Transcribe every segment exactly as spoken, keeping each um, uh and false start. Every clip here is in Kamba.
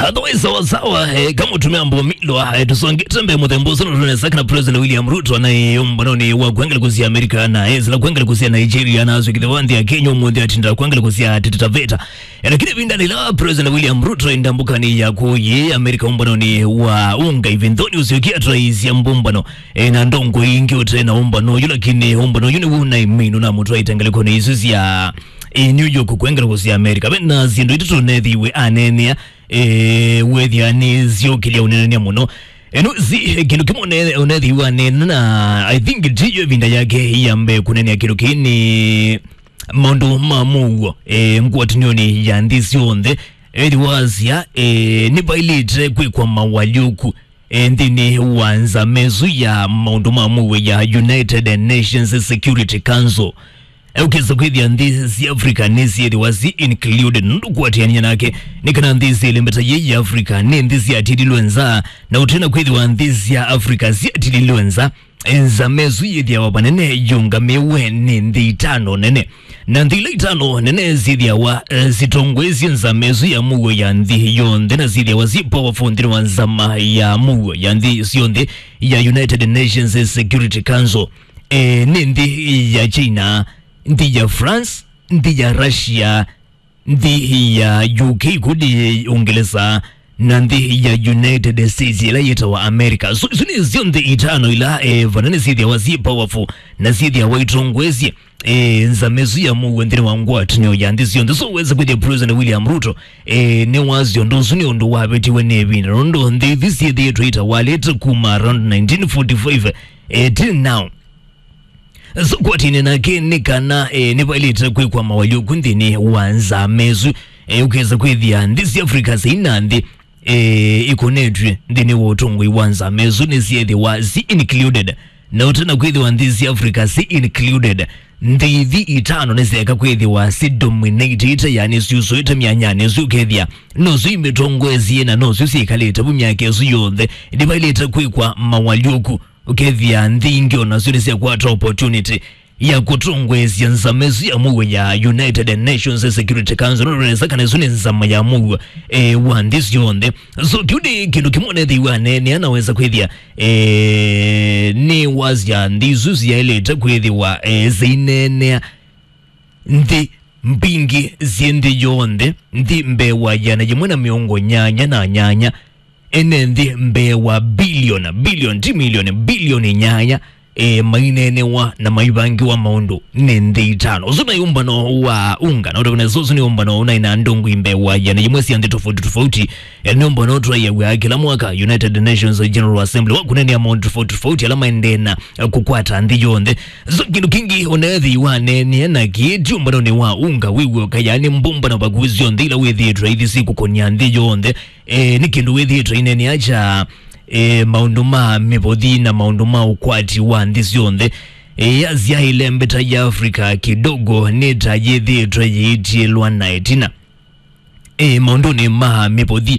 Otherwise, sawa sawa, eh, kama utumia mbo milo, eh, tusongete mbee mũthembo ũsu nũtũnesa kana President William Ruto na, eh, ũmbanonĩ wa kwengelekũsya America na, eh, sila kwengelekũsya Nigeria na aswĩkĩthe wa nthĩ ya Kenya ũmũnthĩ atinda kwengelekũsya Taita Taveta. Eh, lakini ĩvinda lĩla President William Ruto enda mbũkanĩ ya kũyĩ America ũmbanonĩ wa ũnga ivindoni ũsyokie atwaisya mbũmbano, eh, na ndongo ingĩ ũte na ũmbano ũyũ, lakini ũmbano ũyũ nĩw'o na iminu na mũtwaite ngelekũnĩ isu sya, eh, New York kwengelekũsya America. Ve na syĩndũ itatũ nethiwe aneenea, eh, wethĩa nĩ syũkĩlya ũneenea mũno. Eh, no, si, eh, kĩndũ kĩmwe ne-, ũnethiwa nena, I think tiyo ĩvinda yake ya mbee kũneenea kĩndũ kĩĩ nĩ maũndũ ma mũuo, eh, ngwatanĩonĩ ya nthĩ syonthe. Ethĩwa asya, eh, nĩvaĩlĩte kwĩkwa mawalyũku, eh, nthĩnĩ wa nzama ĩsu ya maũndũ ma mũuo ya United Nations Security Council. Ũkesa kwĩthĩa nthĩ sya Africa nĩsyĩthĩwa si included, nũndũ kũatĩanĩa nake nĩ kana nthĩ syĩ ĩlembeta yĩĩ ya Africa nĩ nthĩ syatililwe nza, na ũtena kwĩthĩwa nthĩ sya Africa syatililwe nza, nzama ĩsu yĩthĩawa vanene yũngamĩwe nĩ nthĩ itano nene. Na nthĩ ila itano nene syĩthĩawa, eh, sitongoesye nzama ĩsu ya mũuo ya nthĩ yonthe, na syĩthĩawa si powerful nthĩnĩ wa nzama ya mũuo ya nthĩ syonthe ya United Nations Security Council. Eh, nĩ nthĩ ya China, nthĩ ya France, nthĩ ya Russia, nthĩ ya U K, kũndĩ Ũngelesa, na nthĩ ya United States, ĩla yĩtawa America. So, isu nĩ syo nthĩ itano ila, eh, vana nĩ syĩthĩawa syĩ powerful na syĩthĩawa itongoesye, eh, nzama ĩsu ya mũuo nthĩnĩ wa ngwatanĩo ya nthĩ syonthe. So, wesa kwĩthĩa President William Ruto, eh, nĩwasya ũndũ ũsu nĩ ũndũ wavĩtiwe nĩ ĩvinda, nũndũ nthĩ ithi syĩthĩĩtwe itawalĩte kuma around nineteen forty-five, eh, till now. So, kwatine nake nĩ kana, eh, nĩvaĩlĩte kwĩkwa mawalyũku nthĩnĩ wa nzama ĩsu. Eh, ũkesa kwĩthĩa nthĩ sya Africa syĩna nthĩ, eh, ikonetw'e nthĩnĩ wa ũtongoi wa nzama ĩsu nĩsyĩthĩwa si included. Na ũtena kwĩthĩwa nthĩ sya Africa si included, nthĩ ithi itano nĩsyaeka kwĩthĩwa si dominated, yani syusũĩte myanyanĩ ĩsu ũkethĩa nosyo imĩtongoesye na nosyo syĩkalĩte vu myaka ĩsu yonthe. Nĩvaĩlĩte kwĩkwa mawalyũku. Ũkethĩa nthĩ ingĩ o nasyo nĩsyakwata opportunity ya kũtongoesya nzama ĩsu ya mũuo ya United Nations Security Council, nũndũ nesa kana ĩsu nĩ nzama ya mũuo, eh, wa nthĩ syonthe. So, kĩu nĩ kĩndũ kĩmwe nethĩiwe aneenea na wesa kwĩthĩa, eh, nĩ wasya nthĩ isu syaĩlĩte kwĩthĩwa, eh, syĩneenea nthĩ mbingĩ syĩ nthĩ yonthe, nthĩ mbee wa ĩana yĩmwe na mĩongo nyanya na nyanya, ene nthĩ mbee wa bilioni, bilioni, ti milioni, bilioni nyanya, e, maineenewa na maivangiwa maũndũ nĩ nthĩ itano. Ũsu nĩ ũmbano wa unga, na ũtavana ũsu nĩ ũmbano ũnaĩ na ndongo mbee wa ĩana yĩmwe sya nthĩ tofauti tofauti. E, nĩ ũmbano ũtwaĩaw'a kĩla mwaka United Nations General Assembly wa kũneenea maũndũ tofauti tofauti ala maendee na, e, kũkwata nthĩ yonthe. So, kĩndũ kĩngĩ ũnethĩiwa aneenea na kĩĩ ti ũmbanonĩ wa unga wĩ w'oka, yani mbũmbano vakuvĩ syonthe ila wĩthĩĩtwe ithi syĩkũkũnĩa nthĩ yonthe. E, nĩ kĩndũ wĩthĩĩtwe ineenea kya, e, maũndũ ma mĩvothi na maũndũ ma ũkwati wa nthĩ syonthe. E, Asia ĩlembeta ya Africa kidogo nĩ ta yĩthĩĩtwe yĩitiĩlwa na ĩtina, e, maũndũnĩ ma mĩvothi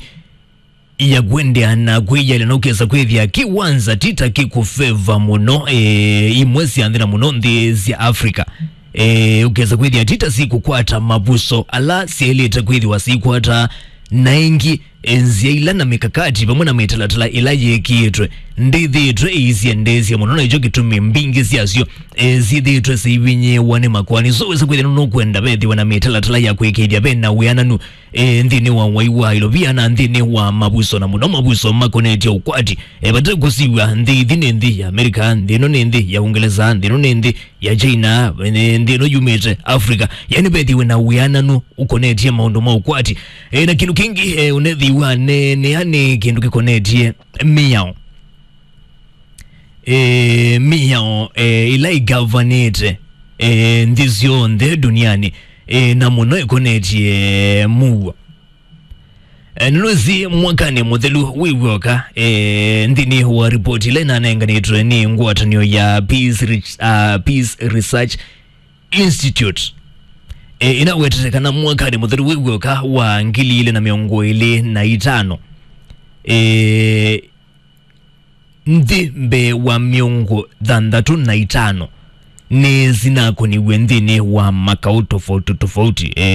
ya kũendeea na kwĩyĩalya, na ũkesa kwĩthĩa kĩwanza ti ta kĩkũfeva mũno, e, imwe sya nthĩ na mũno nthĩ sya Africa. E, ũkesa kwĩthĩa ti ta sikũkwata mavuso ala syaĩlĩte kwĩthĩwa sikwata, na ĩngĩ, e, nzĩa ila na mikakati vamwe na mĩtalatala ĩla yĩkĩĩtwe ndĩthĩĩtwe ĩisyendeesya mũno, na ĩkyo kĩtumi mbingĩ syasyo, e, syĩthĩĩtwe sĩivinyĩĩwa nĩ makoani. So, wesa kwĩthĩa nũkwenda vethĩwe na mĩtalatala ya kũĩkĩĩthya ve na wĩananu, e, nthĩnĩ wa wai wa ilovia na nthĩnĩ wa mavuso, na mũno mavuso makonetye ũkwati. E, vate kũsiw'a nthĩ ithi nĩ nthĩ ya America, nthĩ ĩno nĩ nthĩ ya Ũngelesa, nthĩ ĩno nĩ nthĩ ya China, nthĩ ĩno yumĩte Africa. Yani, vethĩwe na wĩananu ũkonetye maũndũ ma ũkwati. E, na kĩndũ kĩngĩ, e, ũnethĩiwa neenea nĩ kĩndũ kĩkonetye mĩao. E, mĩao, e, ĩla ĩgavanĩte, e, nthĩ syonthe duniani, e, na mũno ĩkonetye mũuo. E, nũnũsi mwakanĩ mũthelu wĩ w'oka, e, nthĩnĩ wa ripoti ĩla ĩnanenganĩtwe nĩ ngwatanĩo ya Peace Reach-, ah, Peace Research Institute, e, ĩnawetete kana mwakanĩ mũthelu wĩ w'oka wa ngili ilĩ na mĩongo ĩlĩ na itano, e, nthĩ mbee wa mĩongo thanthatũ na itano nĩsinakũniw'e nthĩnĩ wa makaũ tofauti tofauti, e,